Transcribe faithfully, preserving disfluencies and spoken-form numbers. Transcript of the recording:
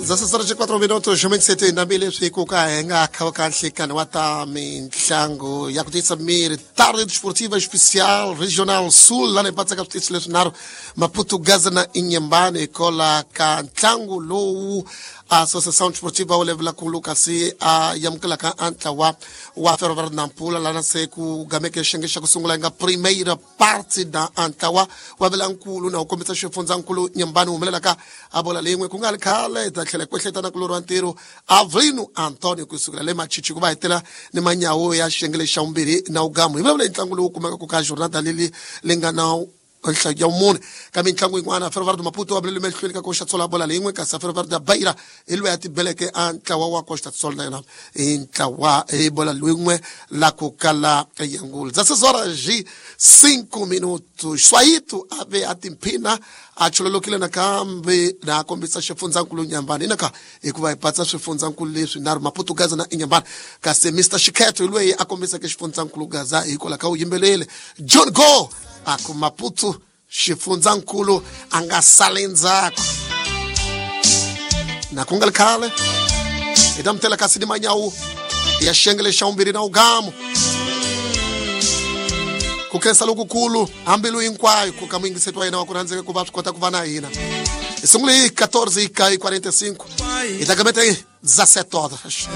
Dezesseis horas e quatro minutos, vinte e sete na leswi ku ka hi nga kha ka nhlikani wa ta mintlangu ya ku tiyisa miri, tarde desportiva especial regional sul, lana hi patsaka switichi leswinharhu, Maputo, Gaza na Inhambane, hikola ka ntlangu lowu Associação Desportiva wa Levela-Kulu kasi a yamukelaka a ntlawa wa Ferroviário Nampula, lana se ku gameke xiyenge xa ku sungula, yi nga primeira parte da a ntlawa wa Velankulu na wu kombisa xifundzankulu Nyambani humelelaka a bola leyin'we. Ku nga ri khale hi ta tlhela hi kwehleta kulori wa ntirho Avrino Antonio kusukela le Machichi ku va hetela ni manyawo ya xiyenge lexi xa vumbirhi na wugamu. Hi vulavula hi ntlangu lowu kumekaka ka jornada leli li nga na nhlayo ya vumune. Ka mitlangu yin'wana, Ferroviário do Maputo wa bulele mahlweni ka Costa Sol bola leyin'we, kasi Ferroviário da Beira hi loyi a tibeleke a ntlawa wa Costa Sol na yona hi ntlawa hi bola lwin'we la ku kala yangulu. dezesseis horas e cinco minutos, Swayito a ve a timphina a chololokile nakambe na kombisa xifundzankulu Nyambani inaka, hikuva hi patsa swifundzankulu leswi nharhu, Maputo, Gaza na Inyambani, kasi Mister Xikhetho hi loyi a kombiseke xifundzankulu Gaza hikwalaho ka u yimbelele John Go a ku Maputo xifundzankulu a nga sali ndzhaku. Na ku nga ri khale hi ta mutela kasi ni manyawu ya xiyenge xa vumbirhi na ugamu. Ku khensa lokukulu hambilu hinkwayo ku ka muyingiseti wa yena wa ku rhandzeka ku va swi kota ku va na hina. Hi sungule hi catorze e quarenta e cinco, hi ta gameta hi dezessete horas.